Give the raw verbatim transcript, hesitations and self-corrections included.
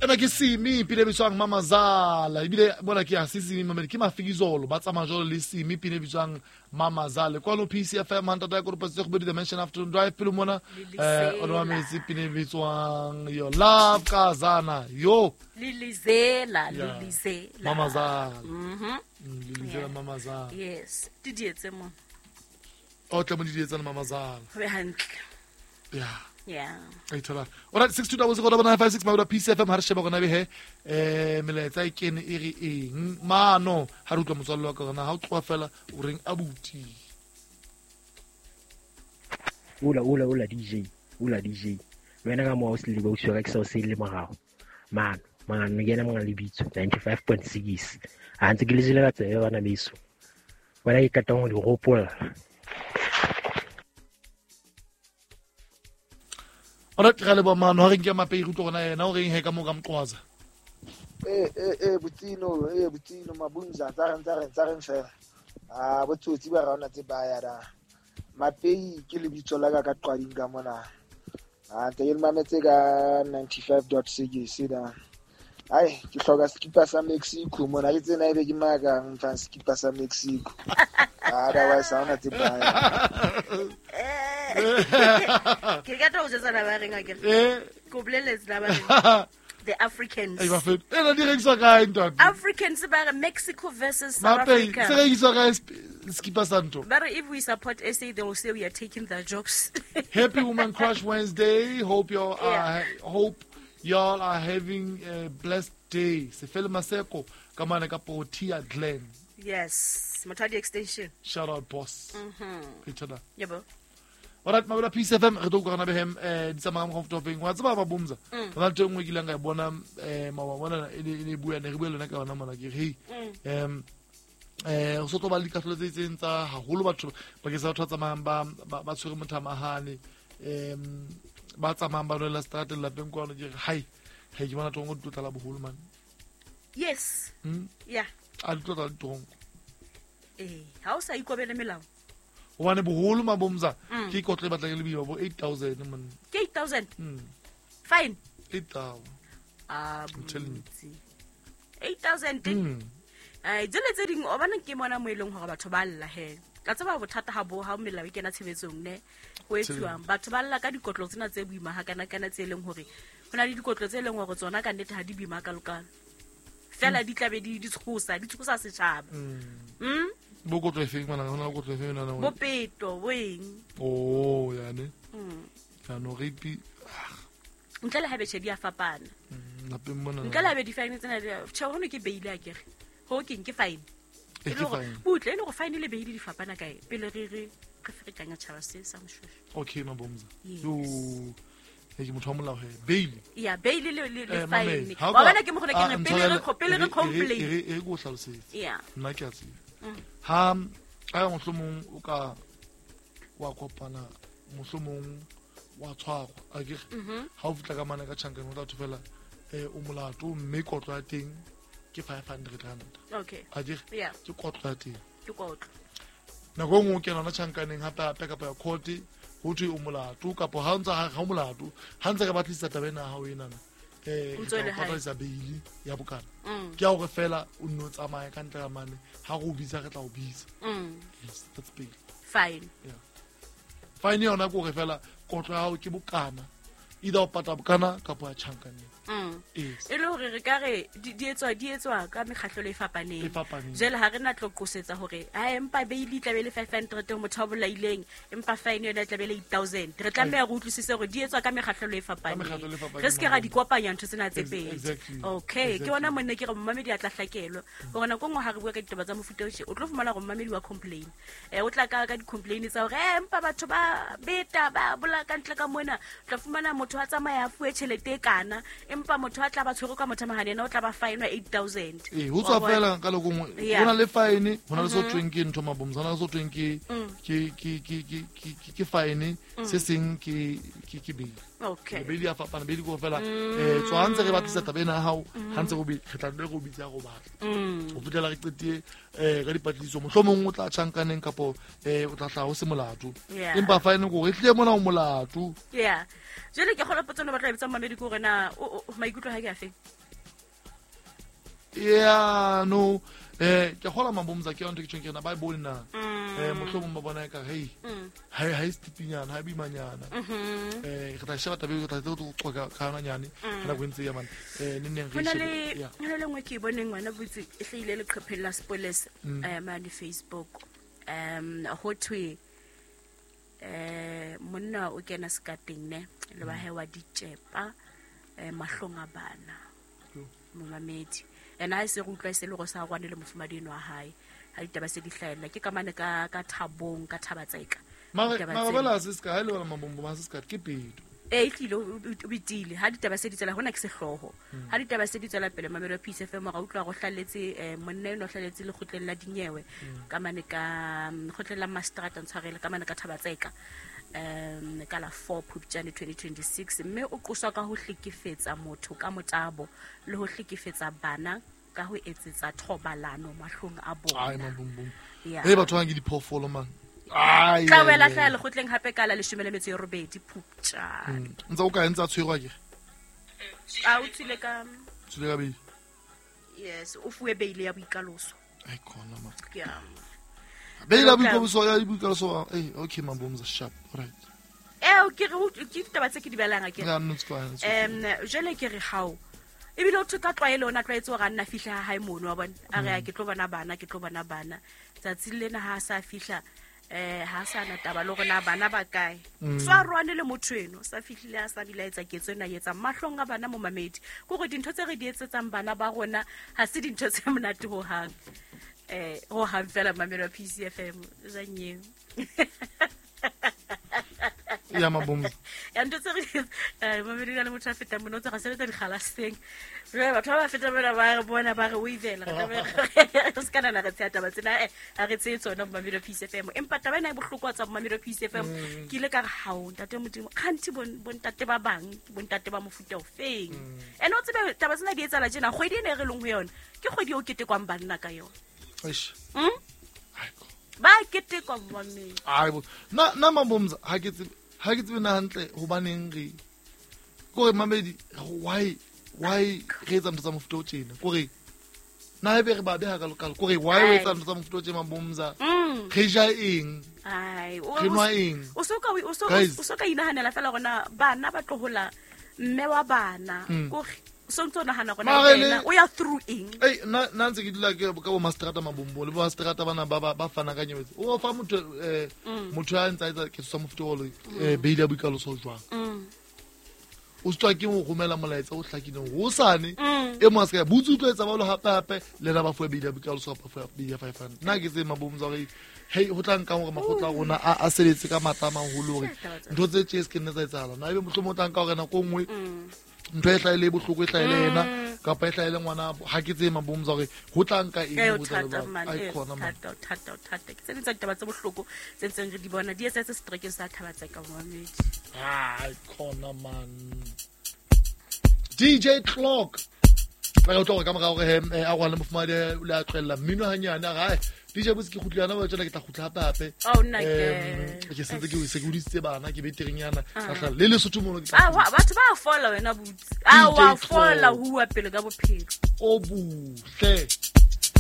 Ena ke Simi pina e bitswang Mamazala. Ebile mona ke ha se Simi mamedi ke Mafikizolo ba tsamaya jwalo le Simi pina e bitswang Mamazala. Kwano P C F M hantata ya Koropatsi tse kgobedi Dimension Afternoon Drive pele mona eh o mametse pina e bitswang Your Love Kazana. Yo Lilizela, Lilizela. Mamazala. Mhm. Lilizela Mamazala. Yes. Di dietse mo. O tla mo di dietsa Mamazala. Ho be hantle. Yeah. Yeah. E thola. Alright, six two double zero double nine five six Mabuda P C F M ha re sheba gona be he eh melaetsa e kene e re eng mano ha re utlwa motswalle wa ka gona ha o tloa fela o reng abuti. Ula ula ula D J, ula D J. Wena ka mo o se le ba utswa ka se o se le morao. Man, man ke yena monga lebitso ninety-five point six. A ntse ke le jele ka tsebe bana beso. Wena ke katang ho di hopola. Ora ke le ba mano ha re nke mapei re utlwa gona yena o reng he ka mo ka mqwaza. Eh eh eh butino eh butino mabunza tsa reng tsa reng tsa reng fela. Ah botsotsi ba rona tse ba ya da. Mapei ke lebitso la ka ka qwading ka mona. Ah ntse ke mametse ka ninety-five point six da. Ai ke hloka skipa sa Mexico mona ke tsena ebe ke maka mfa skipa sa Mexico. Otherwise ha ona tse ba ya. Ke ka tlo jetsa la ba reng a ke eh ko boleletse la ba reng the Africans e ba fe e la direkiswa kae ntate Africans ba re Mexico versus South Africa se rekiswa kae skipa santo ba re if we support S A they will say we are taking their jobs. Happy Woman Crush Wednesday, hope you are yeah. hope y'all are having a blessed day. Sefele Maseko ka mane ka Portia Glen. Yes, Motadi extension. Shout out boss. Mhm. Ithola. Yebo. Alright, Mabuda P C F M re tlo utlwa gona behem eh di tsamaya mo comfortable wa tseba ba bomza. Rona ntho e nngwe ke ileng ka e bona eh mawa bona e ne bua ne re bua lena ka yona mona ke re hey em eh o so tlo ba le dikahlolo tse itseng tsa haholo batho bakeng sa batho ba tsamayang ba ba tshwere mothamahane em ba tsamayang ba nwela strateng lapeng kwano ke re hai hai ke bona trongo di tlo tlala boholo man. Yes. Mm? Yeah. A di tlo tlala ditrongo. Eh, ha o sa ikobele melao. Hobane boholo mabomza ke kotlo e batlang e le boima bo eight thousand man. Ke eight thousand? Mm. Fine. eight thousand. Ah, I'm telling you. eight thousand. Mm. Ai, tsele tse ding o bana ke mona mo eleng hore batho ba lla he. Ka tseba bothata ha bo ha melao e kena tshebetsong ne. Ho etsuwang batho ba lla ka dikotlo tsena tse boima ha kana kana tse leng hore hona le dikotlo tse leng hore tsona ka nnete ha di boima ka lokalo. Fela di tlabe di di tshosa, di tshosa setjhaba. Mm. Bo kotlo e feng mana hona kotlo e feng nana? Bo peto bo eng? Oh, yane. Mm. Ya no rape. Ntle le ha betjhe di a fapana. Mm, lapeng mona. Ntle le ha be di fine tsena di tjhe hono ke bail a kere. Ho keng ke fine. E ke fine. Butle e le go fine le bail di fapana kae? Pele re re re ferekanya tjhaba se sa moshweshwe. Okay mabomza. Yo. E ke motho wa molao he. Bail. Yeah, bail le le le fine. Wa bona ke mo gone ke re pele re pele re complain. E re e go hlalosetse. Yeah. Nna ke a tseba. Ha a mohlomong o ka wa kopana mohlomong wa tshwarwa a ke ha o fitla ka mana ka tjhankane o tla thofela eh o molato mme kotlo ya teng ke five hundred rand. Okay. A ke yeah. Ke kotlo ya teng. Ke kotlo. Nako nngwe o kena na tjhankaneng hape hape kapa ya court ho thwe o molato kapa ha ntse ha o molato ha ntse re batlisisa taba ena ha o enana eh re patadisa bail ya bokana. Ke a hore fela o nno tsamaya ka ntle ga mane ha re o bitsa re tla o bitsa. Yes, that's bail. Fine. Yeah. Fine yona ke hore fela kotlo ya hao ke bokana. Either o pata bokana kapa ya tjhankaneng. Mm. Yes. E le hore re ka re di etswa di etswa ka mekgahlelo e fapaneng. E fapaneng. Jwale ha re na tlo qosetsa hore ha empa bail e tla be le five hundred ho motho a bolaileng empa fine yona e tla be le eight thousand. Re tlameha re utlwisise hore di etswa ka mekgahlelo e fapaneng. Re se ke ra di kopanya ntho tsena tse pedi. Okay, ke bona monne ke re mmamedi a tla hlakelwa. Hore nako nngwe ha re bua ka ditaba tsa mofuta o tje o tlo fumana hore mmamedi wa complain. Eh o tla ka ka di-complain tsa hore eh empa batho ba beta ba bola ka ntle ka mona. O tla fumana motho a tsamaya a fuwe tjhelete e kana empa motho a tla ba tshwere ka motho mahane yena o tla ba fine eight thousand. Eh ho tswa fela ka lokong hona le fine hona le so tweng ke ntho mabomza hona le so tweng ke ke ke ke ke ke fine se seng ke ke ke bail. Okay. Bail ya fapana bail go fela eh tswa ntse re batlisa taba ena ha ha ntse go re tla re go bitsa go batla. Ho fitela re qetie eh ka dipatlisiso mohlomong o tla tjhankaneng kapo eh o tla hla ho se molato. Empa fine go re tle mona o molato. Yeah. Jwale ke kgona potso no batla bitsa mmamedi ke hore na maikutlo ha ke a feng? Yeah no eh ke gola mabomza ke yona ke tjhong ke na ba bone na eh mohlomong ba bona ka hey ha ha istipinyana ha bimanyana eh re tla sheba tabe re tla tlo qoka ka yona nyane ka nako ntse ya man eh ne neng re shebe ya hona le ngwe ke bone ngwana botse e hlile leqhepheng la Spoilers eh mane Facebook um ho thwe eh monna o kena skateng ne le ba he wa ditjepa eh mahlong a bana momamedi ena ha se re utlwa se le go sa rwane le mofumadi eno wa hae ha ditaba se di hlahella ke kamane ka ka thabong ka thabatseka mara mara bela se ska ha le bana mabombo ma se ska ke pedo e tlile o bitile ha ditaba se di tswela hona ke sehloho ha ditaba se di tswela pele Mamelo Peace F M ra utlwa go hlaletse monna eno hlaletse le kgotleng la dinyewe kamane ka kgotleng la Mastrata ntshwarele kamane ka thabatseka um ka la four Phupjane twenty twenty-six mme o qoswa ka ho hlekefetsa motho ka motabo le ho hlekefetsa bana ka ho etsetsa thobalano mahlong a bona. Ai mabumbum. Hey batho ba ke diphoofolo man. Ai. Tla wela hlaya le kgotleng hape ka la leshome le metso e robedi Phupjane. Ntse o ka entsa tshwerwa ke. A o tsile ka tsile ka bail. Yes, o fuwe bail ya boikaloso. Ai khona ma. Ke a Bail ya boikaloso ya boikaloso eh okay mabomza sharp right. Eh o ke re ke ditaba tse ke di balang ke. Yeah, no it's fine. Em jele ke re hao ebile o thuka tlwaelo ona tlwaetse hore a nna fihla ha hae mono wa bona a re ke tlo bona bana ke tlo bona bana tsatsi lena ha sa fihla eh ha sa na taba le rona bana ba kae so a rwane le motho eno sa fihlile a sa bila etsa ketso ena etsa mahlong a bana mo mamedi ke gore dintho tse re di etsetsang bana ba rona ha se dintho tse monate ho hang eh ho hang fela Mamelo P C F M janyeo ya mabombo ya ntho tse re eh mamedi le motho a feta mona o tsa sebetsa dikgalaseng re batho ba feta mona ba re bona ba re o ivela re re se kana na re tsaya taba tsena eh a re tseye tsona Mamelo Peace F M empa taba ena e bohlokwa tsa Mamelo Peace F M ke ile ka re hao ntate Modimo kganti bontate ba bang bontate ba mofuta o feng ene o tsebe taba tsena di etsala tjena kgwedi ene re leng ho yona ke kgwedi o ketekwang banna ka yona eish mm ba ketekwa mamedi ai bo na na mabomza ha ke tsebe ha ke tsebe na hantle hobaneng re kore mamedi why why re etsa ntho tsa mofuta o tjena kore na ebe re ba beha ka lokalo kore why o etsa ntho tsa mofuta o tjena mabomza re ja eng ai re nwa eng o so ka o so o so ka inahanela fela rona bana ba tlohola mme wa bana kore so ntse o nahana rona wena o ya through eng ei na na ntse ke dula ke ka bo mastrata mabombo le bo mastrata bana ba ba fana ka nyewetse o fa motho eh motho a ntsa etsa ke tsa mofuta o le bail ya boikaloso jwang o tswa ke mo romela molaetsa o hlakileng ho sane e mo a se ka butse utlwa etsa ba lo hape hape le na ba fuwe bail ya boikaloso kapa fuwe bail ya five hundred nna ke tse mabombo tsa hore hey ho tla nka hore makgotla a rona a a sebetse ka matla a maholo hore ntho tse tje se ke nne tsa etsahala na ebe mohlomong o tla nka hore nako nngwe ntho e hlaile bohloko e hlaile yena kapa e hlaile ngwana ha ke tse mabomza hore ho tla nka eng ho tla ai khona man thata thata thata ke tse ding tsa ditaba tse bohloko tse ntseng re di bona di etsetse setrekeng sa Thabatseka momamedi ai khona man D J Clock ba o tloga ka mora hore a rwale mofumadi o le a tlohella mmino hanyane a re D J botse ke kgutla yana ba tsena ke tla kgutla hape hape oh nna ke ke sentse ke se ke hodisitse bana ke betereng yana ka le Lesotho mono ke ah batho ba fola wena butse ah wa fola huwa pele ka bophelo o buhle.